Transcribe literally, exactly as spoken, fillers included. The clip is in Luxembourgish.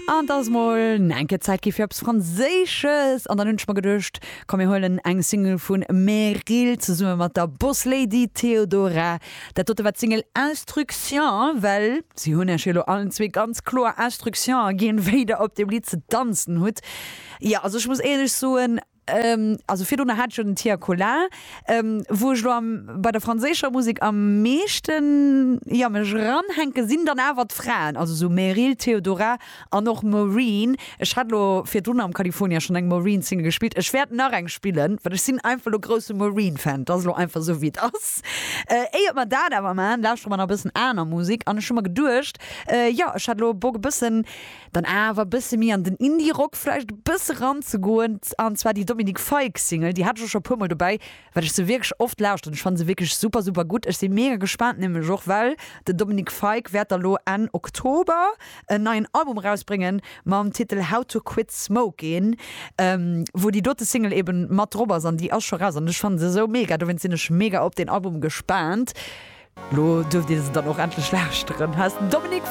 An dat ass mol enke Zäit gi fir eppes Franséisches. An dann hunn ech mer geduecht, komm, mir huelen eng Single vun Meryl zesumme mat der Boss Lady Theodora. Dat dote war d'Single Instruction, well si hunn iech jo lo allen zwee ganz kloer Instructiounen ginn, wéi der op deem Lidd ze danzen hutt. Jo, also ech muss éierlech soen, also virdrun hat ech jo den Tia Kola, wou ech lo am, bei der franséischer Musek am meeschten, jo, mech eranhänke sinn dann awer d'Fraen, also sou Meryl, Theodora an och Maureen. Ech hat lo virdrun am California schonn eng Maureen-Single gespillt, ech wäert nach eng spillen, well ech sinn einfach lo grousse Maureen-Fan, 't ass lo einfach sou wéi et ass. Éiert mer dat awer maachen, lauschtere mer nach e bëssen aner Musek an ech hu mer geduecht, jo, ech hat lo Bock e bëssen dann awer e bësse méi an den Indie-Rock vläicht e bësse ranzegoen, an zwar déi Dominic Fike Single, déi hat ech och scho e puer mol dobäi, well ech se wierklech oft lauschteren. Ech fannen se wierklech super super gutt. Ech si mega gespaant, nämlech och well den Dominic Fike wäert da lo Enn Oktober en neien Album erausbréngen mam Titel How to Quit Smoking, wou déi dote Single eben mat drop ass an déi ass scho raus an ech fannen se esou mega, dowéinst sinn ech mega op deen Album gespaant. Lo duerft dir se dann och endlech lauschteren. Hei ass den Dominic.